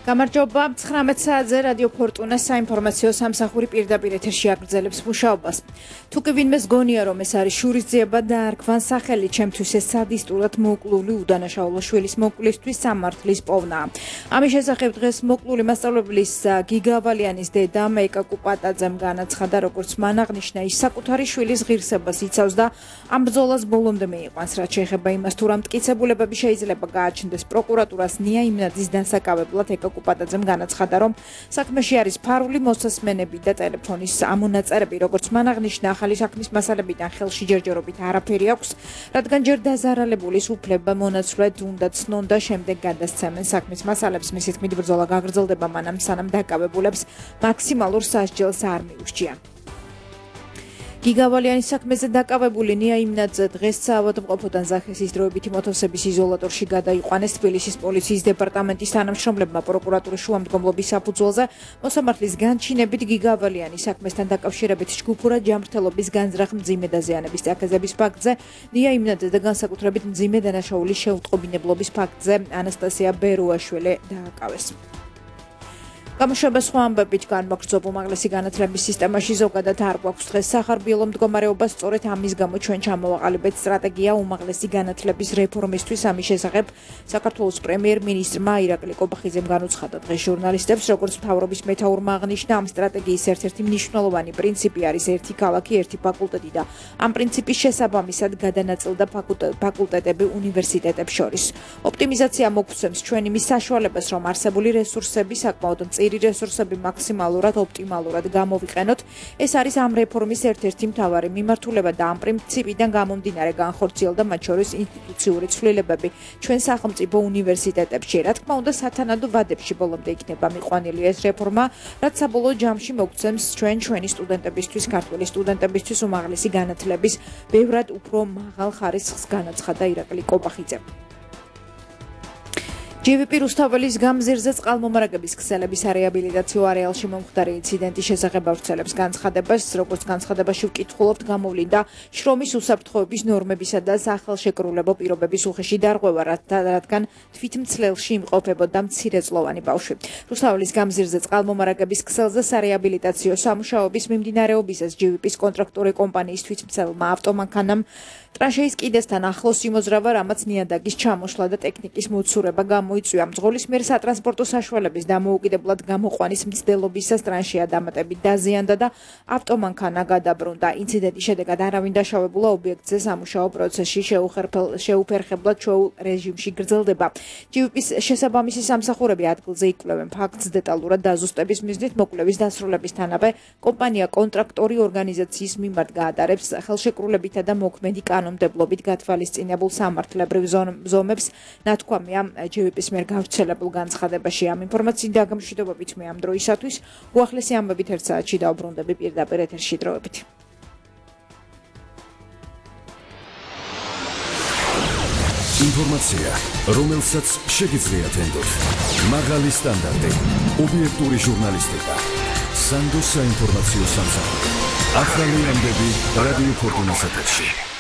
გამარჯობა 19 საათზე რადიო ფორტუნა საინფორმაციო სამსახური პირდაპირ ეთერში აგრძელებს მუშაობას. თუ კი ვინმეს გონია რომ ეს არის შურისძიება და არქვან სახელი ჩემთვის ეს სადისტურად მოკლული უდანაშაულო შვილის მოკლისთვის სამართლის პოვნა. ამის შესახებ დღეს მოკლული მასწავლებლის გიგავალიანის დედა მეიკა კუპატაძემ განაცხადა როგორც მან აღნიშნა ის საკუთარი შვილის ღირსებას იცავს და ამ ბრძოლას ბოლომდე მიიყვანს რაც შეეხება იმას თუ რა მტკიცებულებები შეიძლება გააჩნდეს პროკურატურას ნია იმნაძის დასაკავებლად კუპატაძემ განაცხადა რომ საქმეში არის ფარული მოსასმენები და ტელეფონის ამონაწერები როგორც მან აღნიშნა ახალი საქმის მასალებიდან ხელში ჯერჯერობით არაფერი აქვს რადგან ჯერ დაზარალებულის უფლება მონაცვლედ უნდა ცნონ და შემდეგ გადასცემენ საქმის მასალებს მისი თქმით ბრძოლა გაგრძელდება მანამ სანამ დაკავებულებს მაქსიმალურ სასჯელს არ მიურჩია გიგავალიანის საქმეზე დაკავებული ნია იმნაძე დღეს საავადმყოფოდან ზახესის დროებითი მოთხოვების იზოლატორში გადაიყვანეს თბილისის პოლიციის დეპარტამენტის თანამშრომლებმა პროკურატურის შუამდგომლობის საფუძველზე მოსამართლის განჩინებით გიგავალიანის საქმესთან დაკავშირებით ჯგუფურად ჯანმრთელობის განზრახ მძიმე დაზიანების წაკაზების ფაქტზე ნია იმნაძე და განსაკუთრებით მძიმე დანაშაულის შეუტყობინებლობის ფაქტზე ანასტასია ბერუაშვილი დააკავეს. გამოშვება სხვა ამბებით განმაგრძობ უმაღლესი განათლების სისტემაში ზოგადად არ გვაქვს დღეს სახარბიელო მდგომარეობა სწორედ ამის გამო ჩვენ ჩამოვაყალიბეთ სტრატეგია უმაღლესი განათლების რეფორმისთვის ამის შესახებ საქართველოს პრემიერ-მინისტრმა ირაკლი კობახიძემ განუცხადა დღეს ჟურნალისტებს როგორც მთავრობის მეთაურმა აღნიშნა ამ სტრატეგიის ერთ-ერთი მნიშვნელოვანი პრინციპი არის ერთი ქალაქი ერთი ფაკულტეტი და ამ პრინციპის შესაბამისად გადანაწილდა ფაკულტეტები უნივერსიტეტებს შორის ოპტიმიზაცია მოგცემს ჩვენ იმის საშუალებას რომ არსებული რესურსები საკმაოდ მწირი რესურსები მაქსიმალურად ოპტიმალურად გამოვიყენოთ ეს არის ამ რეფორმის ერთ-ერთი მთავარი მიმართულება და ამ პრინციპიდან გამომდინარე განხორციელდა მათ შორის ინსტიტუციური ცვლილებები ჩვენ სახელმწიფო უნივერსიტეტებში რა თქმა უნდა სათანადო ვადებში ბოლომდე იქნება მიყვანილი ეს რეფორმა რაც საბოლოო ჯამში მოგცემს ჩვენი სტუდენტებისთვის ქართული სტუდენტებისთვის უმაღლესი განათლების ბევრად უფრო მაღალ ხარისხს განაცხადა ირაკლი კობახიძე GVP რუსთაველის გამზირზე წყალმომარაგების ქსელების რეაბილიტაციო არეალში მომხდარი ინციდენტის შესახებ ავრცელებს განცხადებას, როგორც განცხადებაში ვკითხულობთ, გამოვლინდა შრომის უსაფრთხოების ნორმებისა და სახელშეკრულებო პირობების უხეში დარღვევა, რადგან თვითმცლელში იმყოფებოდა მცირეწლოვანი ბავშვი. რუსთაველის გამზირზე წყალმომარაგების ქსელზე სარეაბილიტაციო სამუშაოების მიმდინარეობისას GVP-ის კონტრაქტორი კომპანიის თვითმცელმა ავტომანქანამ ტრანშეის კიდესთან ახლოს იმოძრავა, რამაც ნიადაგის ჩამოშლა და ტექნიკის მოცურება გამოიწვია. მძღოლის მიერ სატრანსპორტო საშუალების დამოუკიდებლად გამოყვანის მცდელობისას ტრანშეა დამატებით დაზიანდა და ავტომანქანა გადაბრუნდა. ინციდენტის შედეგად არავინ დაშავებულა ობიექტზე სამუშაო პროცესში შეუფერხებლად ჩვეულ რეჟიმში გრძელდება. GVP-ის შესაბამისი სამსახურები ადგილზე იკვლევენ ფაქტს დეტალურად დაზუსტების მიზნით მოკვლევის დასრულებისთანავე კომპანია კონტრაქტორი ორგანიზაციის მიმართ გაატარებს ხელშეკრულებითა და მოქმედი კანონმდებლობით გათვალისწინებულ სამართლებრივ ზომებს ნათქვამია GVP-ის მიერ გავრცელებულ განცხადებაში ამ ინფორმაციით დაგამშვიდობებით მე ამ დროისათვის უახლესი ამბებით ერთ საათში დავბრუნდები პირდაპირ ეთერში დროებით. ინფორმაცია, რომელსაც შეგიძლიათ ენდოთ. მაღალი სტანდარტი, ობიექტური ჟურნალისტიკა. სანდოს საინფორმაციო სამსახური. ახალი ამბები რადიო ფორტუნას ეთერში.